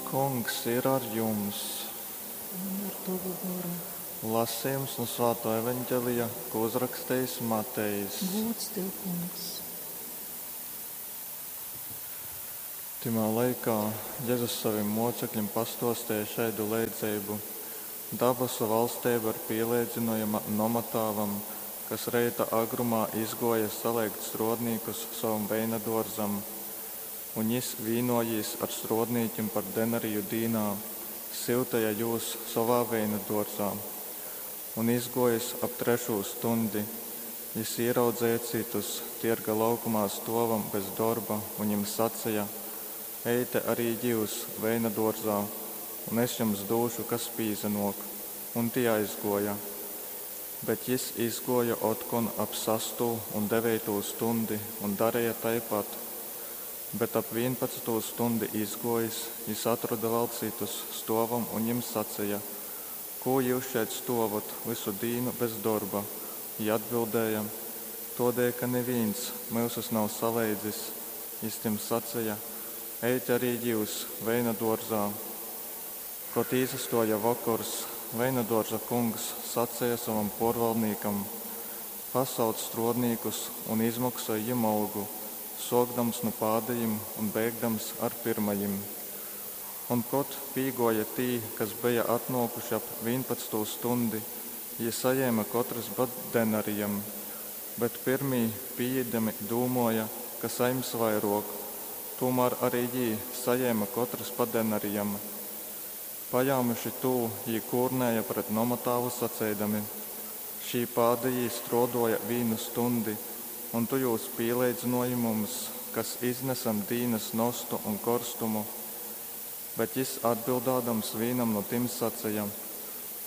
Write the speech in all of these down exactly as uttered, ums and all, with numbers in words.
Kungs ir ar jums! Un ar tovu goru. Lasījums no Svāto evaņģelija, ko uzrakstījis Matejs. Gūds tev, Kungs! Timā laikā Jēzus savim mocekļim pastostīja šaidu leidzību. Dabasu valstība ir pielīdzinojama nomatāvam, kas reita agrumā izgoja saleigt strodnīkus savam veina dārzam. Un jis vīnojīs ar strodnīkim par denariju dīnā, syutīja jūs savā veina dārzā. Un izgojis ap trešū stundi, jis ieraudzēja citus tierga laukumā stovam bez darba, un viņiem sacīja: Eite arī jūs veina dārzā, un es jums došu, kas pīzenok. Un tie aizgoja. Bet jis izgoja otkon ap sastū un deveitū stundi un darīja taipat. Bet ap vienpadsmitū stundi izgojis, jis atrada vēl citus stovam un viņiem sacīja: Ko jūs šeit stovot visu dīnu bez darba? Jī atbildēja: Todēļ, ka neviens mūsus nav saleidzis. Jis tiem sacīja: Eite arī jūs veina dārzā. Kad īsastoja vakars, veina dārza kungs sacīja savam porvaldnīkam: Pasauc strodnīkus un izmaksāj viņiem algu, sokdams no pādējiem un beigdams ar pirmajiem. Un kad pīgoja tī, kas bija atnākuši ap vienpadsmitū stundi, jī sajēma katrs pa denarijam, bet pirmī pīeidami dūmoja, ka saims vairāk, tomēr arī jī sajēma katrs pa denarijam. Pajāmuši tū, jī kūrnēja pret nomatāvu sacēdami: Šī pādējī strodoja vīnu stundi, un tu jūs pīleidzinoji mums, kas iznesam dīnas nostu un korstumu. Bet jis atbildādams vīnam no tim sacīja: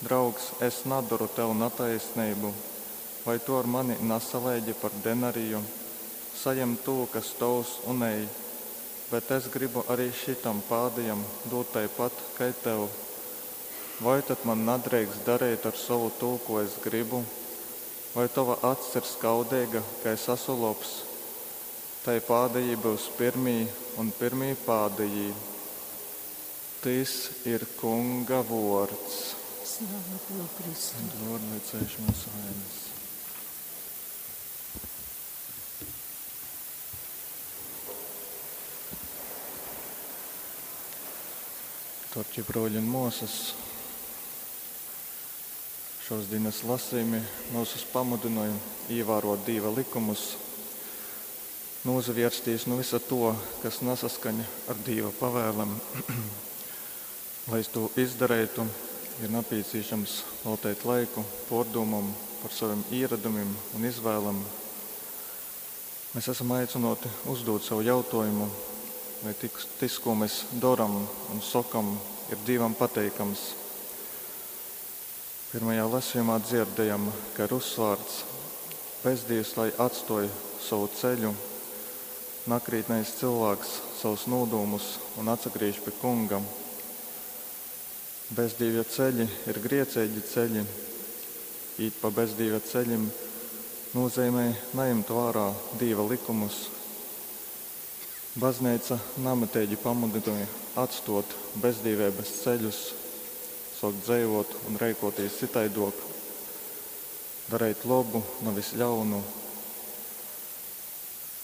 Draugs, es nadaru tev nataisnību, vai tu ar mani nasaleidzi par denariju? Sajem tū, kas tavs, un ej. Bet es gribu arī šitam pādējam dot taipat, kai tev. Vai tad man nedrīkst darīt ar savu tū, ko es gribu? Vai tava acs ir skaudīga, ka es esmu lobs? Tai pādējī būs pirmī un pirmī pādējī. Tys ir Kunga vārds. Slava tev, Kristu! Lord, lai ceļš mūsu vainas. Dārgie broļi un māsas, šos dienas lasījumi mūsus pamudināja ievērot Dieva likumus, nozavirsties no visa to, kas nesaskaņa ar Dieva pavēlēm. Lai to izdarītu, ir nepieciešams veltīt laiku pārdomam par saviem ieradumiem un izvēlēm. Mēs esam aicināti uzdot sev jautājumu, vai tik, tas, ko mēs darām un sakam, ir Dievam pateikams. Pirmajā lasījumā dzirdējam, ka ir uzsvārts: bezdīvs, lai atstoj savu ceļu, nakrītnais cilvēks savus nodūmus un atsagriež pie Kunga. Bezdīvja ceļi ir griecīgi ceļi. Īt pa bezdīvja ceļim nozīmē neņemt vērā Dieva likumus. Baznīca namatīgi pamudināja atstot bezdīvības ceļus, sākt dzīvot un rēkoties citaidok, darīt labu, nevis ļaunu.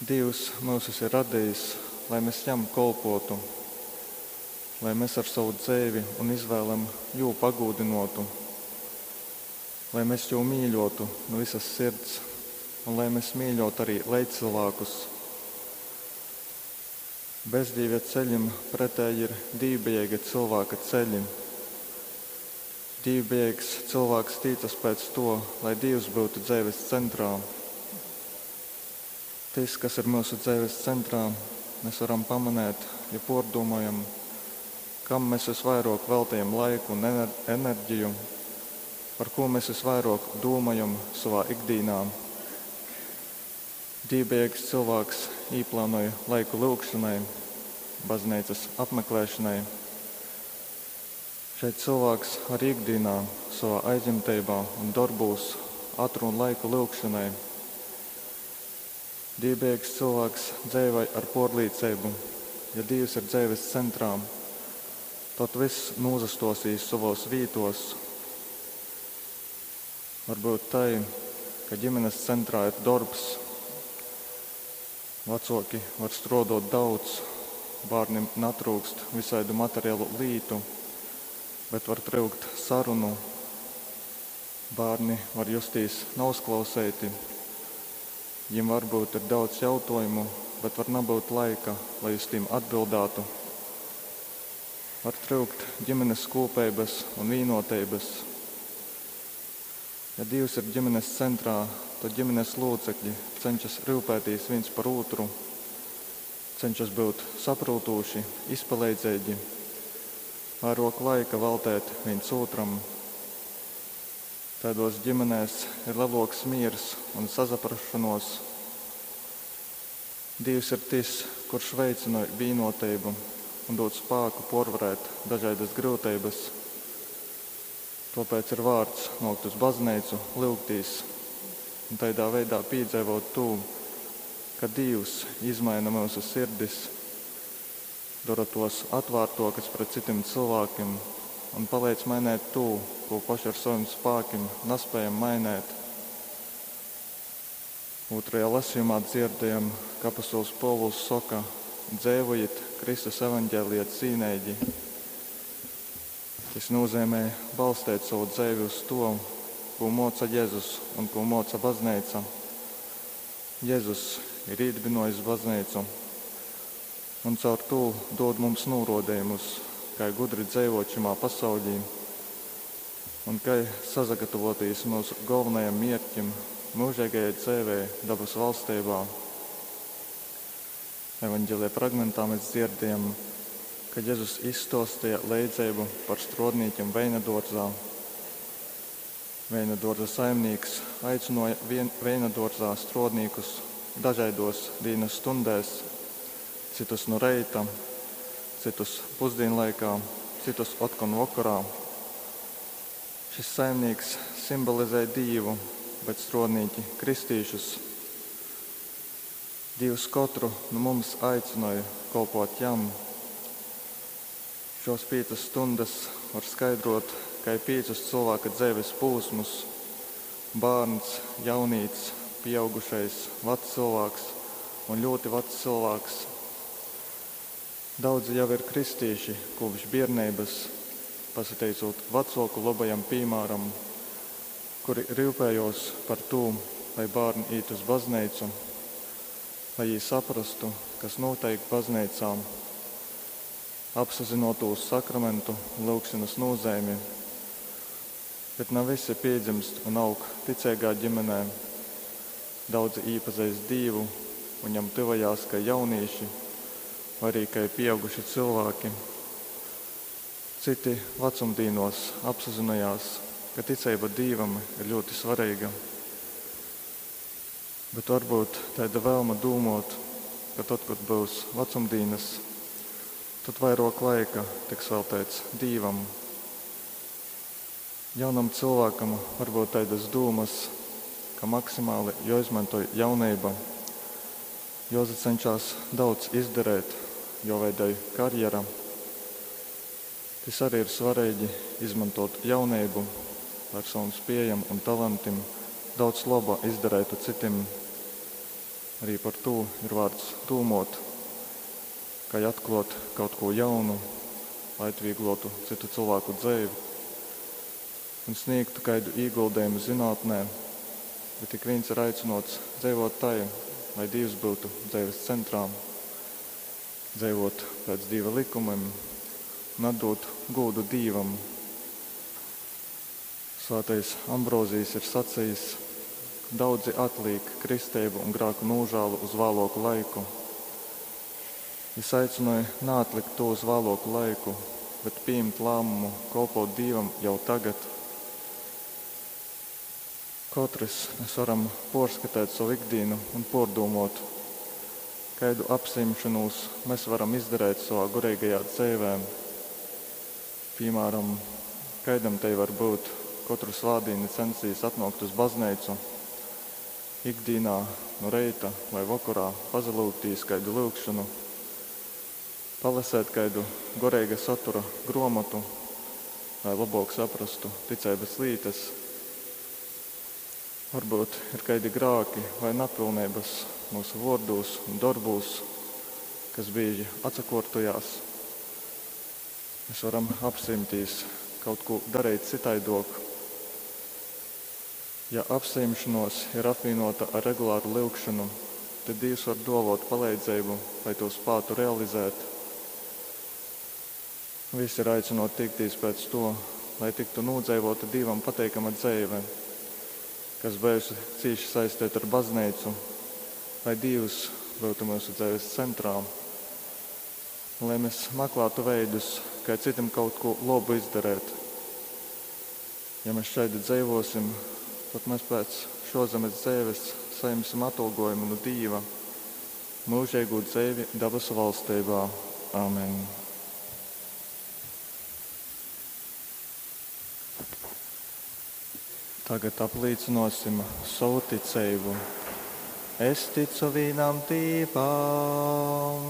Dievs mūsus ir radījis, lai mēs jam kolpotu, lai mēs ar savu dzīvi un izvēlēm jū pagūdinotu, lai mēs jū mīļotu no visas sirds un lai mēs mīļotu arī līdzcilvēkus. Bezdīvja ceļim pretēji ir dīvbijīga cilvēka ceļi. Dīvbijīgs cilvēks tīcas pēc to, lai Dievs būtu dzīves centrā. Tas, kas ir mūsu dzīves centrā, mēs varam pamanīt, ja pārdomājam, kam mēs visvairāk veltījam laiku un ener-, enerģiju, par ko mēs visvairāk domājam savā ikdienā. Dīvbijīgs cilvēks īplānoja laiku lūgšanai, baznīcas apmeklēšanai. Šeit cilvēks arī ikdienā, savā aizņemtībā un darbūs atrod laiku lūgšanai. Dīvbijīgs cilvēks dzīvoja ar porlīdzību, ja Dievs ir dzīves centrā. Tod vyss nūsastuosīs sovuos vītuos. Varbyut tai, ka ģimenes centrā ir dorbs. Vacuoki var struoduot daudz, bārnim natryukst vysaidu materialu lītu, bet var tryukt sarunu. Bārni var justīs nauzklauseiti. Jim varbyut ir daudz jautuojumu, bet var nabyut laika, lai uz tīm atbildātu. Var tryukt ģimenes kūpeibys un vīnuoteibys. Ja Dīvs ir ģimenes centrā, tod ģimenes lūcekļi cenšas ryupētīs vīns par ūtru, cenšas byut saprūtūši, izpaleidzeigi, vairuok laika veltēt vīns ūtram. Taiduos ģimenēs ir leluoks mīrs un sasaprasšonuos. Dīvs ir tys, kurš veicynoj vīnuoteibu un dūd spāku puorvarēt dažaidys gryuteibys. Tuopēc ir vārts nuokt uz bazneicu, lyugtīs un taidā veidā pīdzeivot tū, ka Dīvs izmaina myusu sirdis, dora tuos atvārtuokys pret cytim cylvākim un paleidz mainēt tū, kū poši ar sovim spākim naspējam mainēt. Ūtrajā lasījumā dzierdējam, ka apostols Pōvuls soka: Dzeivojit Kristus evaņģēlija cīneigi. Tys nūzeimē balsteit sovu dzeivi uz to, kū mōca Jezus un kū mōca bazneica. Jezus ir īdybynōjis bazneicu un caur tū dūd mums nūrōdejumus, kai gudri dzeivōt šymā pasaulī un kai sasagatavotīs myusu golvonajam mierķim myužeigajai dzeivei dabasu valsteibā. Evaņģēlija fragmentā mēs dzirdējam, ka Jezus izstuostīja leidzeibu par struodnīkiem veina duorzā. Veina duorza saimnīks aicynuoja vien, veina duorzā struodnīkus dažaidos dīnas stundēs, citus nu reita, citus pusdienlaikā, citus otkon vokorā. Šis saimnīks simbolizē Dīvu, bet struodnīki kristīšus. Dīvs kotru nu mums aicynoj kolpot jam. Šos pīcas stundas var skaidrot kai pīcus cilvēka dzeives pūsmus – bārns, jaunīts, pieaugušais, vecs cilvēks un ļoti vecs cilvēks. Daudzi jau ir kristīši kopš bierneibys, pasateicūt vacuoku lobajam pīmāram, kuri ryupējos par tū, lai bārni īt uz bazneicu, lai jī saprastu, kas nūteik bazneicā, apsazynotūs sakramentu un lyugšanas nūzeimi. Bet na visi piedzimst un aug ticeigā ģimenē. Daudzi īpazeist Dīvu un jam tyvojās kai jaunīši vai arī kai pieauguši cilvēki. Citi vecumdīnos apsazinojās, ka ticeiba Dīvam ir ļoti svarīga. Bet varbūt taida vēlme dūmot, ka tad, kad būs vecumdīnas, tad vairāk laika tiks veltēts Dīvam. Jaunam cilvēkam varbūt taidas dūmas, ka maksimāli jāizmantoj jauneiba, jāsacenšas daudz izdarēt, jāveidoj karjera. Tys arī ir svarīgi izmantot jauneibu, lai ar savam spējam un talantim daudz laba izdarētu citim. Arī par to ir vērts dūmot, kai atklāt kaut ko jaunu, lai atvieglotu citu cilvēku dzeivi un sniegtu kaidu ieguldījumu zinātnē, bet ik viens ir aicinots dzīvot tai, lai Dievs būtu dzīves centrā, dzīvot pēc Dieva likumiem un atdot godu Dievam. Svētais Ambrozijs ir sacījis, daudzi atliek kristību un grēku nožēlu uz vēlāku laiku. Es aicināju neatlikt to uz vēlāku laiku, bet pieņemt lēmumu kalpot Dievam jau tagad. Katrs mēs varam porskatēt savu ikdienu un pordūmot, kaidu apsimšanos mēs varam izdarīt savā garīgajā dzīvē. Piemēram, kaidam te var būt katru svātdienu censīs atnākt uz baznīcu, ikdienā no reita vai vakarā pazalūgtīs kaidu lūgšanu. Palasēt kaidu goreiga satura gruomotu, lai lobuok saprastu ticeibys lītys. Varbyut ir kaidi grāki vai napilneibys mūsu vuordūs un dorbūs, kas bīži atsakuortojās. Mēs varam apsajimtīs kaut ko darīt cytaiduok. Ja apsajimšanos ir apvienota ar regulāru lyugšanu, tad Dievs var duovot paleidzeibu, lai to spātu realizēt. Visi ir aicināti tiekties pēc to, lai tiktu nodzeivota Dievam pateikama dzeive, kas bijusi cīši saistīta ar baznīcu, lai Dievs būtu mūsu dzeives centrā, un lai mēs meklētu veidus, kā citam kaut ko labu izdarīt. Ja mēs šādi dzīvosim, tad mēs pēc šozemes dzīves saņemsim atalgojumu no Dieva, mūžīgu dzīvi dabasu valstībā. Āmen! Tagad apliecināsim savu ticību. Es ticu vienam Dievam.